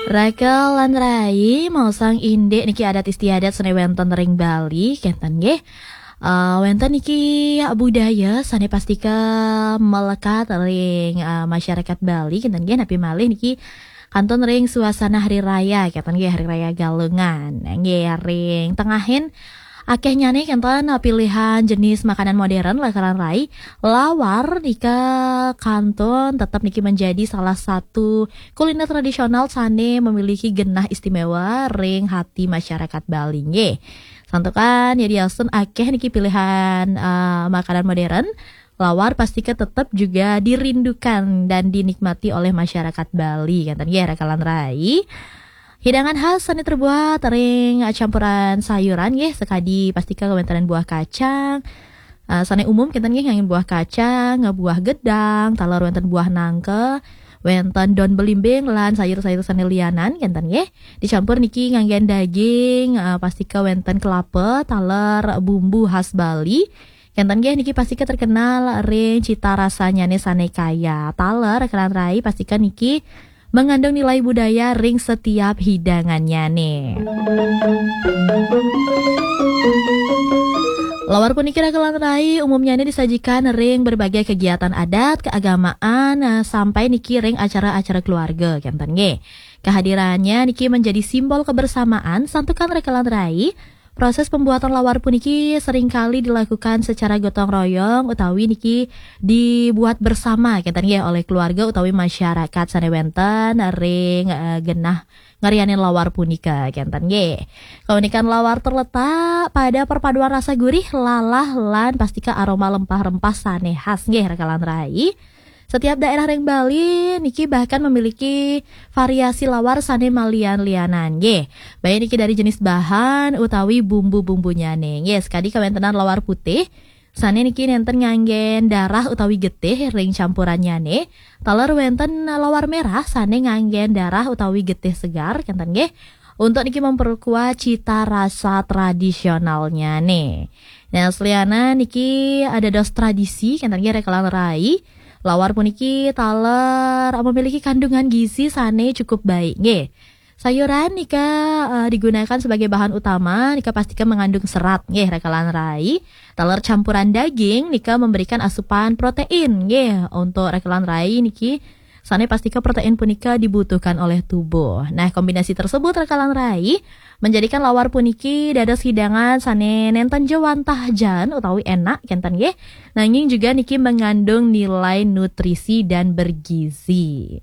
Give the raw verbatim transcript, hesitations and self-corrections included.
Raka lan rai, maosang indik niki adat istiadat sane wenten ring Bali, kenten nggih. Eh, wenten niki budaya sane pastika melekat ring, eh, masyarakat Bali, kenten nggih, napi malih niki kantun ring suasana hari raya, kenten nggih, hari raya Galungan. Nggih, ring tengahin akehnyane kenten pilihan jenis makanan modern, raka lan rai. Lawar nika kantun tetap niki menjadi salah satu kuliner tradisional sane memiliki genah istimewa ring hati masyarakat Bali nggih. Santukan ya diasun akeh niki pilihan, eh, makanan modern, lawar pastika tetap juga dirindukan dan dinikmati oleh masyarakat Bali, kenten nggih, raka lan rai. Hidangan khas sane terbuat ring campuran sayuran nggih, sakadi pastika kawenten buah kacang. Eh, sane umum kenten nggih nganggen buah kacang, buah gedang, taler wenten buah nangka, wenten daun belimbing lan sayur-sayur sane lianan kenten nggih. Dicampur niki nganggen daging, eh, pastika wenten kelapa, taler bumbu khas Bali. Kenten nggih niki pastika terkenal ring cita rasanyane sane kaya. Taler raka lan rai pastika niki mengandung nilai budaya ring setiap hidangannyane. Lawar puniki raka lan rai umumnyane disajikan ring berbagai kegiatan adat, keagamaan, eh, sampai niki ring acara-acara keluarga, kenten nggih. Kehadirannya niki menjadi simbol kebersamaan, santukan raka lan rai. Proses pembuatan lawar puniki seringkali dilakukan secara gotong royong utawi niki dibuat bersama, kenten nggih, oleh keluarga utawi masyarakat sane wenten ring, eh, genah ngarianin lawar punika, kenten nggih. Kaunikan lawar terletak pada perpaduan rasa gurih, lalah, lan pastika aroma lempah-rempah sane khas nggih, raka lan rai. Setiap daerah ring Bali niki bahkan memiliki variasi lawar sane malian-lianan nggih. Baik niki dari jenis bahan utawi bumbu-bumbunyane nggih. Sekadi kawentenan lawar putih, sane niki nenten nganggen darah utawi getih ring campurannyane. Taler wenten lawar merah sane nganggen darah utawi getih segar, kenten nggih. Untuk niki memperkuat cita rasa tradisionalnyane. Nah, selianan niki ada dos tradisi, kenten nggih, raka lan rai. Lawar puniki taler memiliki kandungan gizi sane cukup baik nggih. Sayuran nika, eh, digunakan sebagai bahan utama, nika pastika mengandung serat nggih, raka lan rai. Taler campuran daging nika memberikan asupan protein nggih, untuk raka lan rai niki sane pastika protein punika dibutuhkan oleh tubuh. Nah, kombinasi tersebut raka lan rai menjadikan lawar puniki dados hidangan sane nenten ja wantah jan utawi enak kenten nggih. Nanging juga niki mengandung nilai nutrisi dan bergizi.